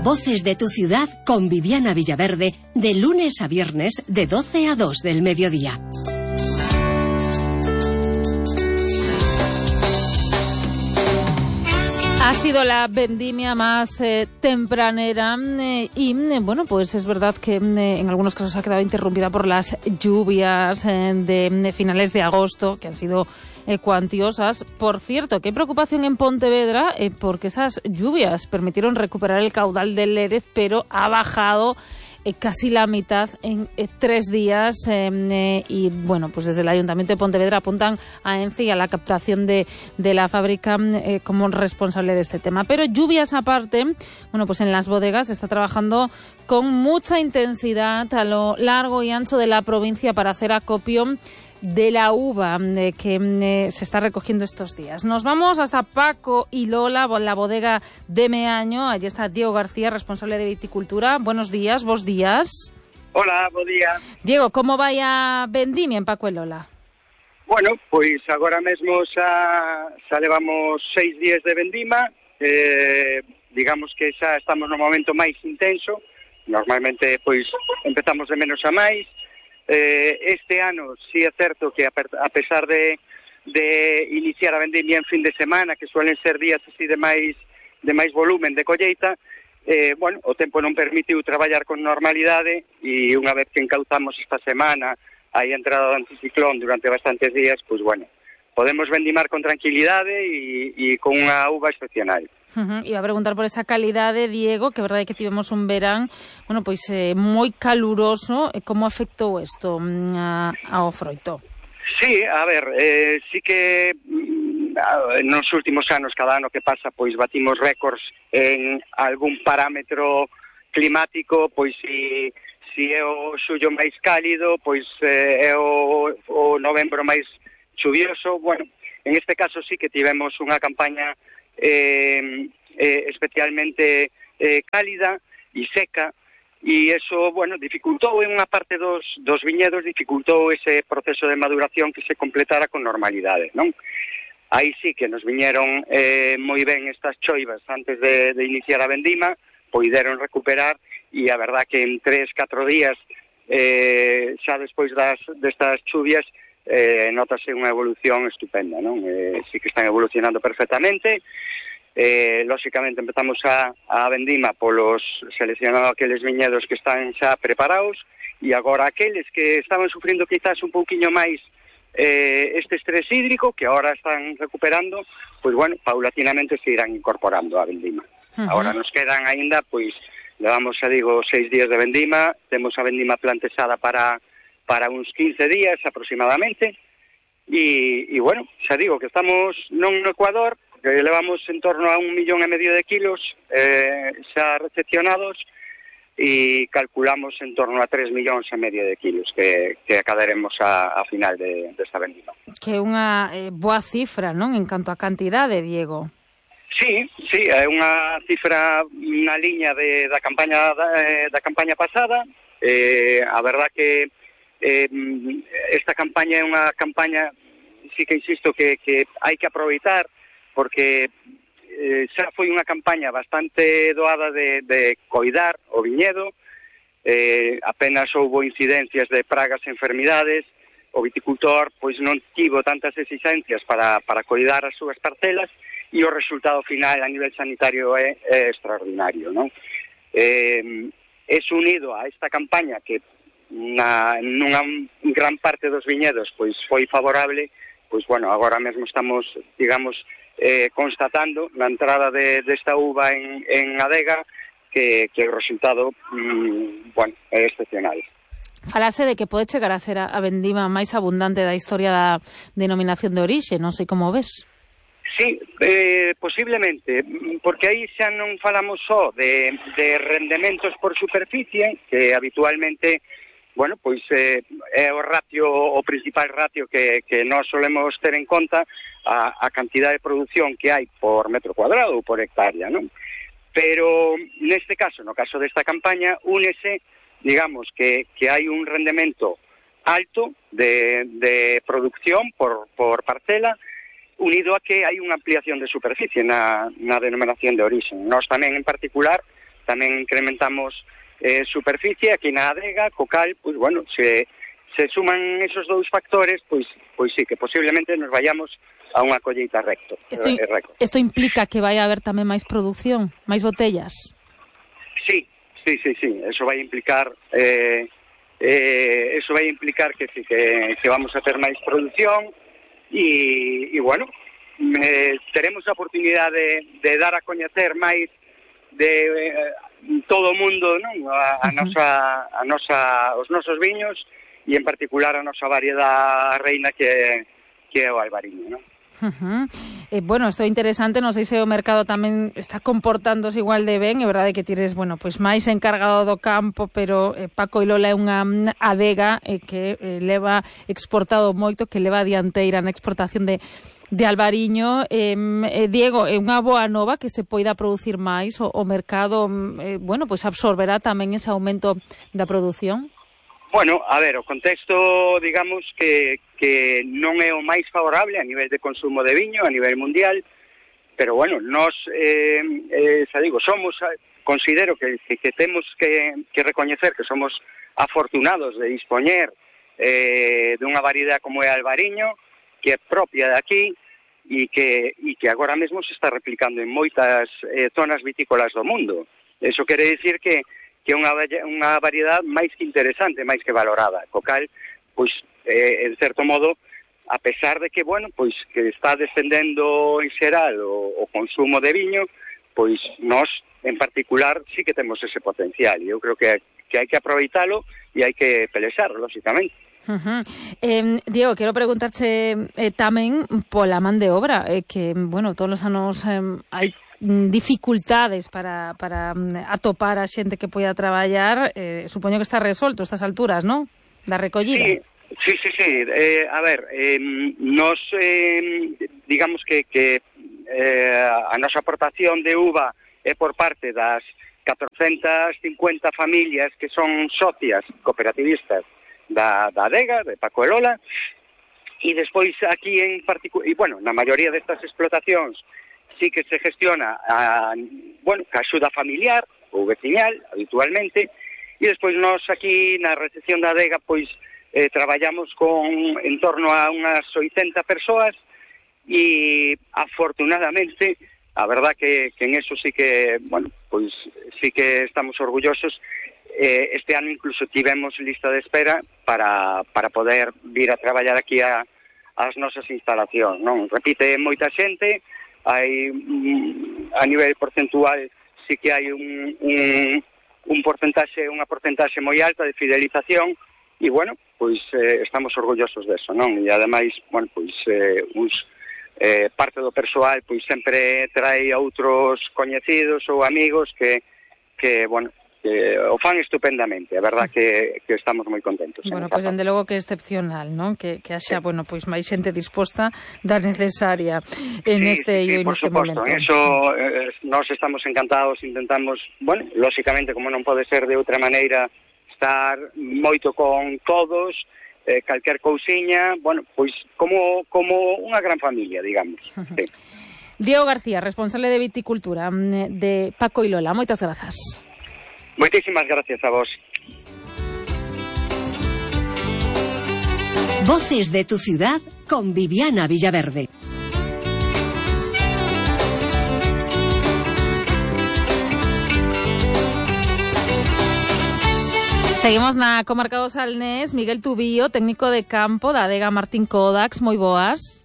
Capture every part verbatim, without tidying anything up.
Voces de tu ciudad con Viviana Villaverde, de lunes a viernes de doce a dos del mediodía. Ha sido la vendimia más eh, tempranera eh, y, eh, bueno, pues es verdad que eh, en algunos casos ha quedado interrumpida por las lluvias eh, de, de finales de agosto, que han sido eh, cuantiosas. Por cierto, que hay preocupación en Pontevedra eh, porque esas lluvias permitieron recuperar el caudal del Lérez, pero ha bajado Eh, casi la mitad en eh, tres días eh, eh, y bueno, pues desde el Ayuntamiento de Pontevedra apuntan a ENCE y a la captación de, de la fábrica eh, como responsable de este tema. Pero lluvias aparte, bueno, pues en las bodegas se está trabajando con mucha intensidad a lo largo y ancho de la provincia para hacer acopio de la uva eh, que eh, se está recogiendo estos días. Nos vamos hasta Paco y Lola, la bodega de Meaño. Allí está Diego García, responsable de viticultura. Buenos días, vos días. Hola, bo día. Diego, como vai a vendimia en Paco e Lola? Bueno, pois agora mesmo xa, xa levamos seis días de vendima, eh, digamos que xa estamos no momento máis intenso, normalmente pois empezamos de menos a máis. Eh, este ano sí é certo que a pesar de, de iniciar a vendimia en fin de semana, que suelen ser días así de máis de máis volumen de colleita, eh, bueno, o tempo non permitiu traballar con normalidade e unha vez que encauzamos esta semana a entrada do anticiclón durante bastantes días, pois bueno, podemos vendimar con tranquilidade e, e con unha uva excepcional. Uh-huh. Iba a preguntar por esa calidade, Diego, que é verdade que tivemos un verán, bueno, pois eh, moi caluroso. Como afectou isto a, ao froito? Sí, a ver, eh, sí que mm, nos últimos anos, cada ano que pasa, pois batimos récords en algún parámetro climático, pois si, si é o xullo máis cálido, pois eh, é o, o novembro máis chuvioso. Bueno, en este caso sí que tivemos unha campaña Eh, eh, especialmente eh, cálida e seca, e eso, bueno, dificultou en unha parte dos, dos viñedos, dificultou ese proceso de maduración que se completara con normalidade, non? Aí sí que nos viñeron eh, moi ben estas choivas antes de, de iniciar a vendima, poideron recuperar, e a verdad que en tres, catro días eh, xa despois das, destas chuvias Eh, notase unha evolución estupenda, non? Eh, sí que están evolucionando perfectamente. Eh, lóxicamente empezamos a, a vendima polos seleccionando aqueles viñedos que están xa preparados, e agora aqueles que estaban sufrindo quizás un pouquiño máis eh, este estrés hídrico, que agora están recuperando, pois bueno, paulatinamente se irán incorporando a vendima. Uh-huh. Agora nos quedan aínda, pois, levamos, xa digo, seis días de vendima, temos a vendima plantexada para para uns quince días aproximadamente, e, e bueno, xa digo que estamos non no Ecuador, que levamos en torno a un millón e medio de kilos eh, xa recepcionados, e calculamos en torno a tres millóns e medio de kilos que, que acadaremos a, a final de, desta vendima. Que é unha eh, boa cifra, non, en canto a cantidade, Diego? Sí, sí, é unha cifra na liña de, da campaña da, da campaña pasada. Eh, a verdad que Eh, esta campaña é unha campaña, sí que insisto, que, que hai que aproveitar, porque eh, xa foi unha campaña bastante doada de, de coidar o viñedo, eh, apenas houbo incidencias de pragas e enfermidades, o viticultor pois non tivo tantas exigencias para, para coidar as súas parcelas, e o resultado final a nivel sanitario é, é extraordinario, non? Eh, es unido a esta campaña que na nunha gran parte dos viñedos pois foi favorable, pois bueno, agora mesmo estamos, digamos, eh, constatando na entrada de desta uva en, en adega que, que o resultado mmm, bueno, é excepcional. Falase de que pode chegar a ser a, a vendima máis abundante da historia da denominación de orixe, non sei como ves. Sí, eh, posiblemente, porque aí xa non falamos só de, de rendementos por superficie, que habitualmente, bueno, pois eh, é o ratio, o principal ratio que, que nós solemos ter en conta, a, a cantidad de producción que hai por metro cuadrado ou por hectárea, non? Pero neste caso, no caso desta campaña, únese, digamos, que, que hai un rendemento alto de, de producción por, por parcela, unido a que hai unha ampliación de superficie na, na denominación de origen. Nós tamén, en particular, tamén incrementamos eh, superficie aquí na adega, co cal, pois, bueno, se, se suman esos dous factores, pois, pois sí, que posiblemente nos vayamos a unha colleita recto. Isto, eh, recto. Isto implica que vai a haber tamén máis produción, máis botellas? Sí, sí, sí, sí, eso vai implicar... Eh, Eh, eso vai implicar que sí, que, que vamos a ter máis produción e, e bueno, eh, teremos a oportunidade de, de dar a coñecer máis de eh, todo o mundo, non? A, a nosa, a nosa, os nosos viños e en particular a nosa variedade reina que, que é o albariño, non? Uh-huh. Eh, bueno, isto é interesante, non sei se o mercado tamén está comportándose igual de ben, é verdade que tires, bueno, pois máis encargado do campo, pero eh, Paco y Lola é unha adega eh, que eh, leva exportado moito, que leva a dianteira na exportación de, de albariño. Eh, eh, Diego, é unha boa nova que se poida producir máis, o, o mercado, eh, bueno, pois absorberá tamén ese aumento da produción? Bueno, a ver, o contexto, digamos, que, que non é o máis favorable a nivel de consumo de viño, a nivel mundial, pero bueno, nós, eh, eh, xa digo, somos, considero que, que, que temos que, que recoñecer que somos afortunados de dispoñer eh, dunha variedade como é a albariño, que é propia de aquí, e que, e que agora mesmo se está replicando en moitas eh, zonas vitícolas do mundo. Eso quere dicir que que é unha, unha variedade máis que interesante, máis que valorada, co cal, pois, eh, en certo modo, a pesar de que, bueno, pois, que está descendendo en xeral o, o consumo de viño, pois, nós, en particular, sí que temos ese potencial, e eu creo que, que hai que aproveitalo e hai que pelexar, lógicamente. Uh-huh. Eh, Diego, quero preguntarche eh, tamén pola man de obra, eh, que, bueno, todos os anos eh, hai dificultades para, para atopar a xente que poida traballar, eh, supoño que está resolto a estas alturas, non? Da recollida. Sí, sí, sí, sí. Eh, a ver, eh, nos, eh, digamos que, que eh, a nosa aportación de uva é por parte das catorcentas cincuenta familias que son socias cooperativistas da, da adega, de Paco e Lola, e despois aquí en particular, e bueno, na maioría destas explotacións sí que se gestiona a, bueno, a axuda familiar ou veciñal, habitualmente, e despois nós aquí na recepción da adega pois eh, traballamos con en torno a unhas oitenta persoas e afortunadamente a verdad que, que en eso sí que, bueno, pois sí que estamos orgullosos. Eh, este ano incluso tivemos lista de espera para, para poder vir a traballar aquí a, as nosas instalacións, non? Repite moita xente, hai a nivel porcentual sí que hai un, un, un porcentaxe, unha porcentaxe moi alta de fidelización e, bueno, pois eh, estamos orgullosos deso, non? E ademais, bueno, pois eh, uns, eh, parte do persoal pois sempre trae a outros coñecidos ou amigos que, que bueno, que o fan estupendamente, a verdad que, que estamos moi contentos. Bueno, pois, pues, dende logo que é excepcional, non? Que, que haxa, sí, bueno, pois, máis xente disposta da necesaria en sí, este sí, sí, en este suposto. momento. En eso eh, nós estamos encantados, intentamos, bueno, lógicamente, como non pode ser de outra maneira, estar moito con todos, eh, calquer cousiña, bueno, pois como, como unha gran familia, digamos. Sí. Diego García, responsable de viticultura de Paco y Lola, moitas grazas. Moitísimas gracias a vos. Voces de tu ciudad con Viviana Villaverde. Seguimos na comarca do Salnés. Miguel Tubío, técnico de campo da adega Martín Codax, moi boas.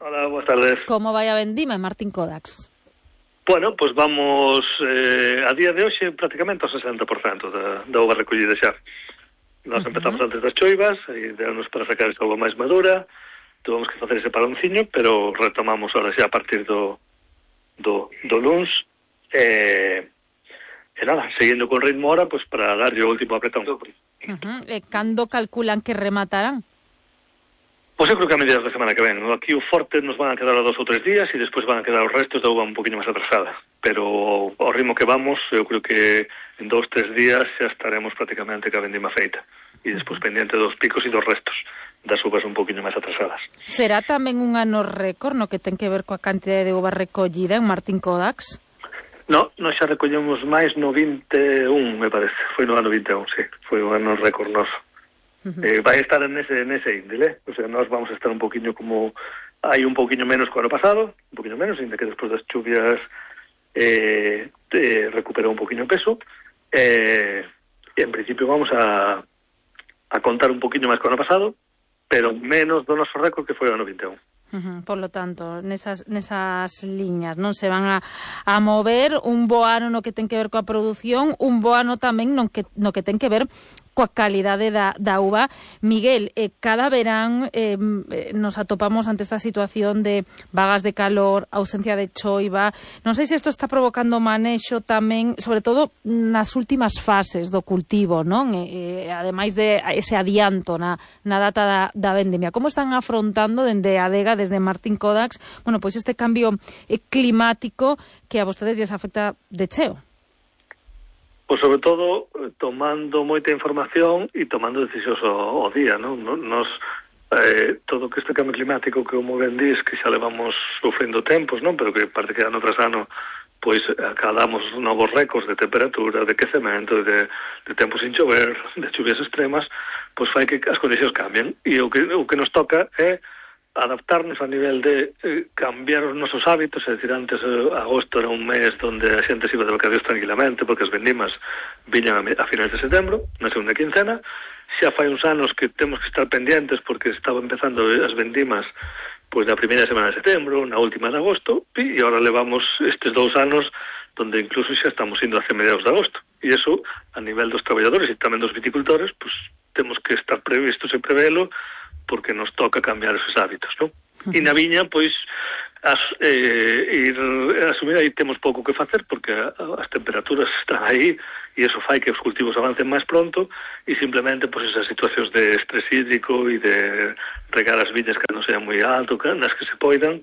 Hola, boas tardes. Como vai a vendima en Martín Codax? Bueno, pois pues vamos eh, a día de hoxe prácticamente ao sesenta por cento da, da uva recollida xa. Nós uh-huh. empezamos antes das choivas, e denos para sacar esa uva máis madura, tuvemos que facer ese paronciño, pero retomamos ahora xa a partir do do, do luns, e, e nada, seguindo con ritmo ahora, pois pues, para darlle o último apretón. Uh-huh. E cando calculan que rematarán? Pois eu creo que a medidas da semana que ven. Aquí o forte nos van a quedar a dos ou tres días e despois van a quedar os restos da uva un poquinho máis atrasada. Pero ao ritmo que vamos, eu creo que en dos, tres días xa estaremos prácticamente ca vendima feita. E despois pendiente dos picos e dos restos das uvas un poquinho máis atrasadas. Será tamén un ano récord no que ten que ver coa cantidade de uva recollida en Martín Codax? No, nós xa recollemos máis no vinte e un, me parece. Foi no ano vinte e un, sí. Foi un ano récord noso. Uh-huh. Eh, vai estar nese, nese índele, o sea, nós vamos a estar un poquinho como... Hai un poquinho menos que o ano pasado, un poquinho menos, ainda que despois das chuvias eh, eh, recuperou un poquinho peso. Eh, e en principio vamos a, a contar un poquinho máis que o ano pasado, pero menos do noso récord que foi o ano vinte e un. Uh-huh. Por lo tanto, nesas, nesas liñas non se van a, a mover un bo ano no que ten que ver coa produción, un bo ano tamén no que, no que ten que ver coa calidade da, da uva. Miguel, eh, cada verán eh, nos atopamos ante esta situación de vagas de calor, ausencia de choiva. Non sei se isto está provocando manexo tamén, sobre todo nas últimas fases do cultivo, non? E, e, ademais de ese adianto na, na data da, da vendimia. Como están afrontando dende a adega, desde Martín Codax, bueno, pois este cambio eh, climático que a vostedes lles afecta de cheo? Pois sobre todo tomando moita información e tomando decisións ao, ao día, non? Nos, eh, todo que este cambio climático que como ben dis, que xa levamos sufrindo tempos, non? Pero que parte que ano tras ano pois acadamos novos récords de temperatura, de quecemento, de, de tempos sin chover, de chuvias extremas, pois fai que as condicións cambien. E o que, o que nos toca é adaptarnos a nivel de eh, cambiar os nosos hábitos, é dicir, antes eh, agosto era un mes onde a xente se iba de vacacións tranquilamente porque as vendimas viñan a, a finais de setembro, na segunda quincena. Xa fai uns anos que temos que estar pendientes porque estaba empezando as vendimas pois na primeira semana de setembro, na última de agosto, e agora levamos estes dous anos donde incluso xa estamos indo hacia mediados de agosto. E iso, a nivel dos traballadores e tamén dos viticultores, pois temos que estar previstos e prevelo porque nos toca cambiar esos hábitos, non? Uh-huh. E na viña, pois, as, eh, ir asumir aí temos pouco que facer porque as temperaturas están aí e eso fai que os cultivos avancen máis pronto e simplemente, pois, esas situacións de estrés hídrico e de regar as viñas que non sean moi alto, nas que se poidan,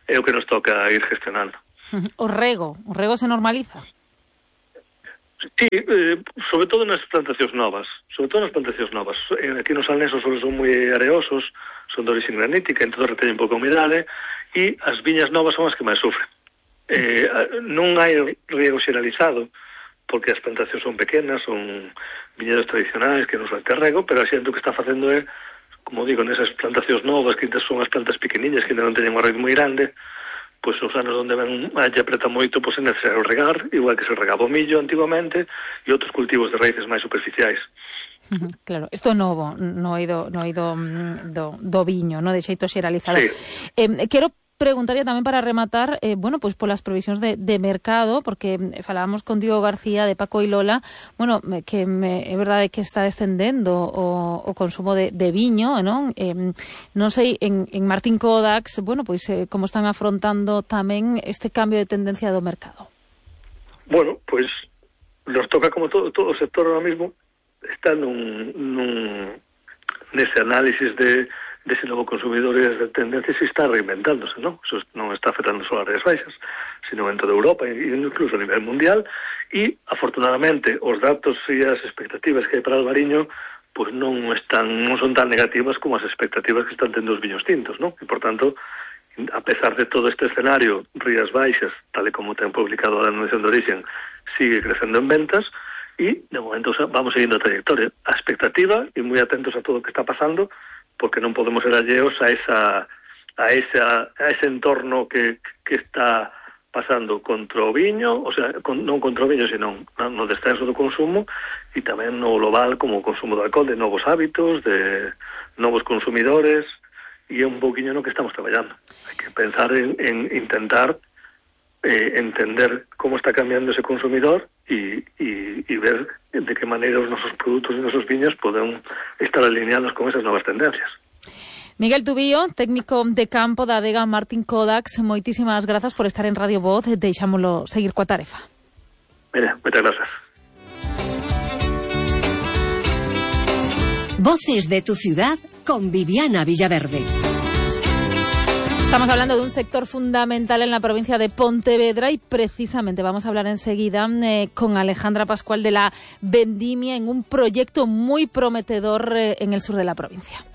é o que nos toca ir gestionando. Uh-huh. O rego, o rego se normaliza? Sí, eh, sobre todo nas plantacións novas, sobre todo nas plantacións novas. Aquí nos alnesos son moi areosos, son de orixen granítica, entón reteñen pouca humidade, e as viñas novas son as que máis sufren. Eh, non hai riego xeralizado, porque as plantacións son pequenas, son viñedos tradicionais que non son de rego, pero a xente o que está facendo é, como digo, nesas plantacións novas, que son as plantas pequeniñas, que non teñen unha raíz moi grande, pois os anos onde ven a apreta moito, pois é necesario regar, igual que se regaba o millo antigamente e outros cultivos de raíces máis superficiais. Claro, isto é novo, no ido, no ido do, do viño, no de xeito xeralizado. Sí. Eh, quero preguntaría tamén para rematar, eh, bueno, pois polas previsións de, de mercado, porque falábamos con Diego García de Paco y Lola, bueno, que me, é verdade que está descendendo o, o consumo de, de viño, non? Eh, non sei, en, en Martín Codax, bueno, pois eh, como están afrontando tamén este cambio de tendencia do mercado. Bueno, pois nos toca como todo, todo o sector ahora mismo está nun, nun nese análisis de dese novo consumidor e de tendencias e está reinventándose, non? Eso non está afectando só as áreas baixas, sino en toda Europa e incluso a nivel mundial, e afortunadamente os datos e as expectativas que hai para Albariño pois non están non son tan negativas como as expectativas que están tendo os viños tintos, non? E por tanto, a pesar de todo este escenario, Rías Baixas, tal e como ten publicado a Denominación de Origen, sigue crecendo en ventas e de momento vamos seguindo a trayectoria. A expectativa e moi atentos a todo o que está pasando, porque non podemos ser alleos a esa a esa a ese entorno que que está pasando contra o viño, o sea, con, non contra o viño, sino no descenso do consumo e tamén no global como o consumo de alcohol, de novos hábitos, de novos consumidores, e é un poquinho no que estamos traballando. Hai que pensar en, en intentar eh, entender como está cambiando ese consumidor e, e, e ver de que maneira os nosos produtos e os nosos viños poden estar alineados con esas novas tendencias. Miguel Tubío, técnico de campo da adega Martín Codax, moitísimas grazas por estar en Radio Voz, deixámolo seguir coa tarefa. Mira, moitas grazas. Voces de tu ciudad con Viviana Villaverde. Estamos hablando de un sector fundamental en la provincia de Pontevedra y precisamente vamos a hablar enseguida eh, con Alejandra Pascual de la Vendimia en un proyecto muy prometedor eh, en el sur de la provincia.